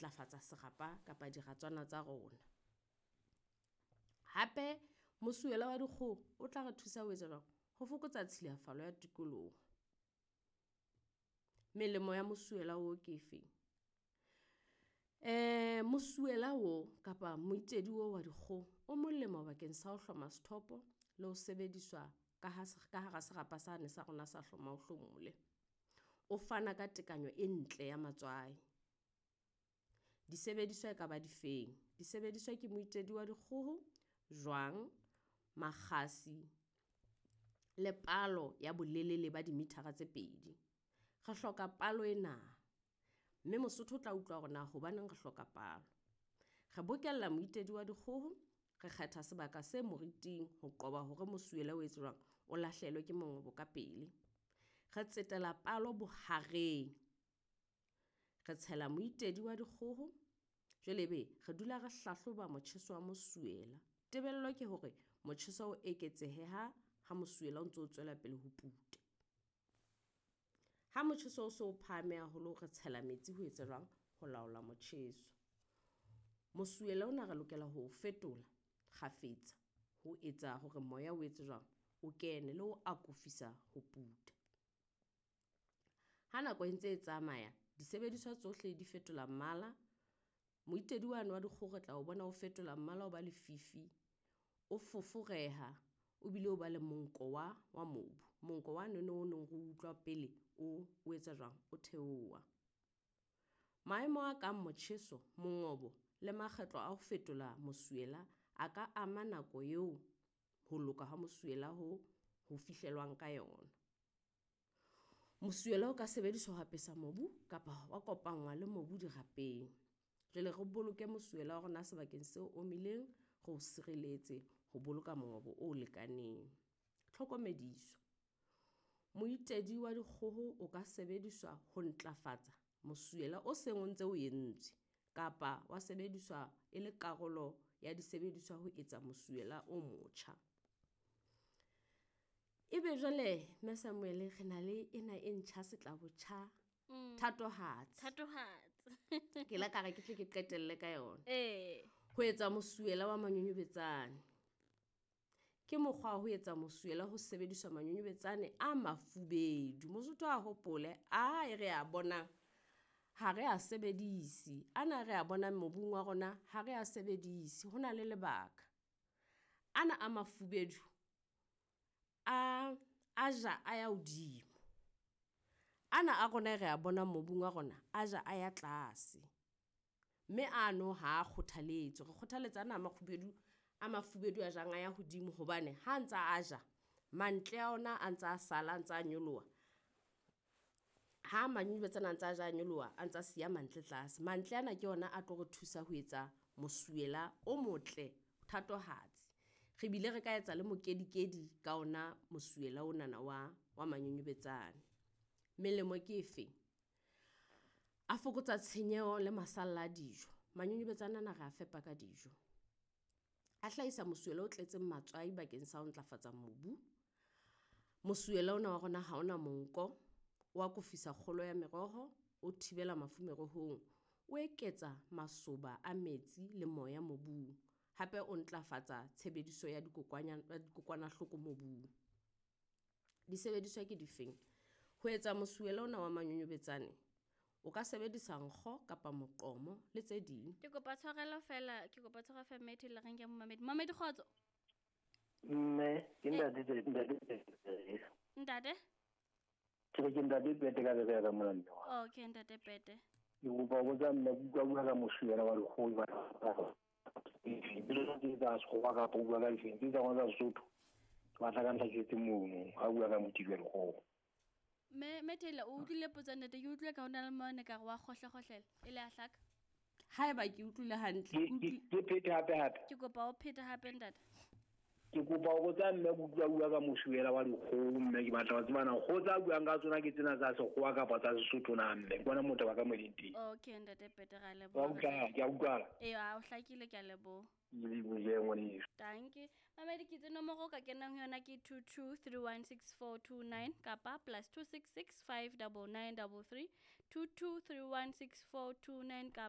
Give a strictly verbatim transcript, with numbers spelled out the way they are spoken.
ntlafatsa serapa kapa diratswana tsa rona. Hape mosuwela wa dikgoho o tla re thusa ho etsa jwang? Ho fokotsa tshilafalo ya tikoloho. Melemo ya mosuwela oo ke efeng? E, mosuwela o kapa moitedi oo wa dikgoho o molemo bakeng sa ho hloma sethopo le ho sebediswa ka ha ka hara serapa sane sa rona sa hloma o hlomole. O fana ka tekanyo e ntle ya matswai. Disebediswa e ka ba difeng? Disebediswa ke moitedi wa dikgoho, jwang, makgasi le palo ya bolelele ba dimithara tse pedi. Re hloka palo ena, mme Mosotho o tla utlwa hore na hobaneng re hloka palo. Re bokella moitedi wa dikgoho, re kgetha sebaka se moriting ho qoba hore mosuwela o etse jwang, o lahlehelwe ke mongobo ka pele. Re tsetela palo bohareng, re tshela moitedi wa dikgoho, jwale ebe re dula re hlahloba motjheso wa mosuwela. Tebello ke hore motjheso o eketsehe ha ha mosuwela o ntso tswela pele ho puta. Ha motjheso o so o phahame haholo, re tshela metsi ho etsa jwang? Ho laola motjheso. Mosuwela ona re lokela ho o fetola kgafetsa ho etsa hore moya o etse jwang? O kene le ho akofisa ho puta. Ha nako e ntse e tsamaya, disebediswa tsohle di fetola mmala. Moitedi wane wa dikgoho re tla o bona o fetola mmala o ba lefifi, o foforeha, o bile o ba le monko wa wa mobu. Monko wa nono o neng re utlwa pele o o etsa jwang? O theoha. Maemo a kang motjheso, mongobo le makgetlo a ho fetola mosuwela a ka ama nako eo ho loka ha mosuwela ho ho fihlelwang ka yona. Mosuwela o ka sebediswa ho apesa mobu kapa wa kopanngwa le mobu dirapeng. Jwale re boloke mosuwela wa rona sebakeng se omileng, re o sireletse ho boloka mongobo o lekaneng. Tlhokomediso, moitedi wa dikgoho o ka sebediswa ho ntlafatsa mosuwela o seng o ntse o entswe kapa wa sebediswa e le karolo ya disebediswa ho etsa mosuwela o motjha. Ebe jwale Mme Samuel re na le ena e ntjha setlabotjha Mm. thatohatsi. Thatohatsi. Ke la ka re ke tle ke qetelle ka yona. Eh. Ho etsa mosuwela wa manyonyobetsane. Ke mokgwa wa ho etsa mosuwela ho sebediswa manyonyobetsane a mafubedu. Mosotho a hopole a e re a bonang ha re a sebedise. Ana re a bonang mobung wa rona ha re a sebedise. Ho na le lebaka. Ana a mafubedu a a ja a ya hodimo. Ana a rona e re a bonang mobung wa rona a ja a ya tlase. Mme ano ha kgothaletswe. Re kgothaletsa ana a makgubedu a mafubedu a jang a ya hodimo hobane ha ntsa a ja mantle a ona a ntsa a sala, a ntsa a nyoloha. Ha manyonyobetsane a ntsa a ja a nyoloha, a ntsa siya mantle tlase. Mantle ana ke ona a tlo re thusa ho etsa mosuwela o motle, thatohatsi. Re bile re ka etsa le mokedikedi ka ona mosuwela onana wa wa manyonyobetsane. Melemo ke efeng? A fokotsa tshenyeho le masalla a dijo. Manyonyobetsane ana re a fepa ka dijo. A hlahisa mosuwela o tletseng matswai bakeng sa ho ntlafatsa mobu. Mosuwela ona wa rona ha ona monko, o akofisa kgolo ya meroho, o thibela mafu merohong, o eketsa masoba a metsi le moya mobung. Hape o ntlafatsa tshebediso ya dikokwanya ya dikokwanahloko mobung. Disebediswa ke difeng? Ho etsa mosuwela ona wa manyonyobetsane, o ka sebedisa nkgo kapa moqomo le tse ding. Ke kopa tshwarelo fela, ke kopa tshwarelo fela mme Thela re nke momamedi. Momamedi kgotso. Mme, ke ntate Pete, ntate Pete. Ntate? Ke re ke ntate Pete ka Berea ka mona mme wa. Okay, ntate Pete. Ke kopa ho botsa mme, ke utlwa bua ka mosuwela wa dikgoho ba Pele ke tsa sekgowa kapa o bua ka difeng, ke tsa rona tsa Sesotho. Ke batla ka ntlhaketse mono, ha o bua ka moitedi wa dikgoho. Mme, mme Taylor, o utlwile potso ntate, ke utlwile ka hona le mone ka re wa kgohle-kgohlela, e le a hlaka. Haeba ke utlwile hantle, Ke, ke utlwi- ke, ke phete hape hape. Ke kopa o phete hape ntate. Ke kopa ho botsa mme, ke utlwa bua ka mosuwela wa dikgoho mme, ke batla ho tseba na kgoho tsa buang ka tsona ke tsena tsa sekgowa kapa tsa Sesotho na mme. Ke bona motho ba ka mo leng teng. Okay, ntate Pete, ra Wa leboha. utlwala, ke a utlwala. Ee, a o hlakile, ke a leboha. Ke lebohile ngwaneso. Danke. Mamedi, ke itse nomoro o ka kenang ho yona ke two two three one six four two nine kapa plus two six six five double nine double three two two three one six four two nine kapa